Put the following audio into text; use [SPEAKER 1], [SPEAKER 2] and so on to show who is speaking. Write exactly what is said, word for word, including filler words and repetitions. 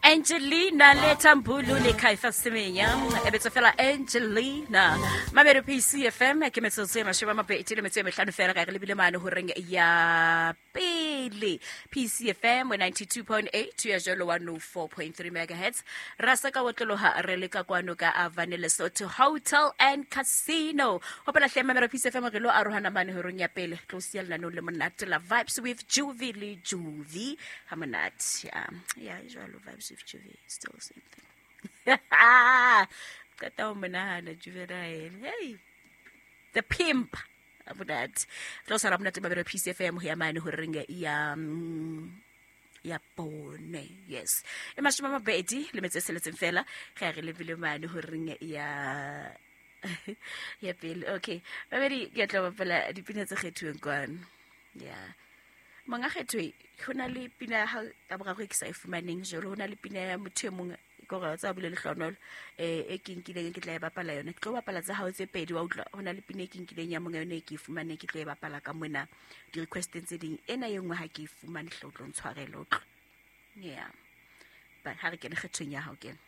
[SPEAKER 1] Angelina le Tambulu le Kaifa Semenya e betsa fela Angelina. Mamelo P C F M ke metsotso e mashome a mabedi le metso e mehlano fela ga re lebile mane horeng ya pele. P C F M ninety-two point eight ya jalo one oh four point three megahertz. Rasa ka otloloha re le ka kwano ka Avane Lesotho Hotel and Casino. Hopola hle Mamelo P C F M re lo arohana mane horeng ya pele. Tlo siya lenaneo le monate la Vibes with Juvie le Juvie. Ha monate. Yeah, yeah, jalo Vibes with Juvie, still the same thing. Qeta ho monahana Juvenile. Hey, the pimp. Monate. Tlo sala monate Mamelo P C F M ho ya mane horeng ya ya bone. Yes. E mashome a mabedi le metso e tsheletseng fela ge re lebile mane horeng ya ya pele. Okay. Babedi ke tla bapala dipina tse kgethuweng kwano. Yeah. Monga kgethwe ho na le pina ya hao ya boraro e ke sa e fumaneng jwalo. Ho na le pina ya motho e mong ke hore tsa bule lehlonolo eh e ke nkileng ke tla e bapala yona. Ke tlo bapala tsa hao tse pedi wa utlwa. Ho na le pina e ke nkileng ya monga yona e ke e fumaneng ke tlo e bapala ka mona di-requesteng tse ding. Ena e nngwe ha ke e fumane hle o tlo ntshwarela, o utlwa. Yeah. But ha re kene kgethong ya hao kene.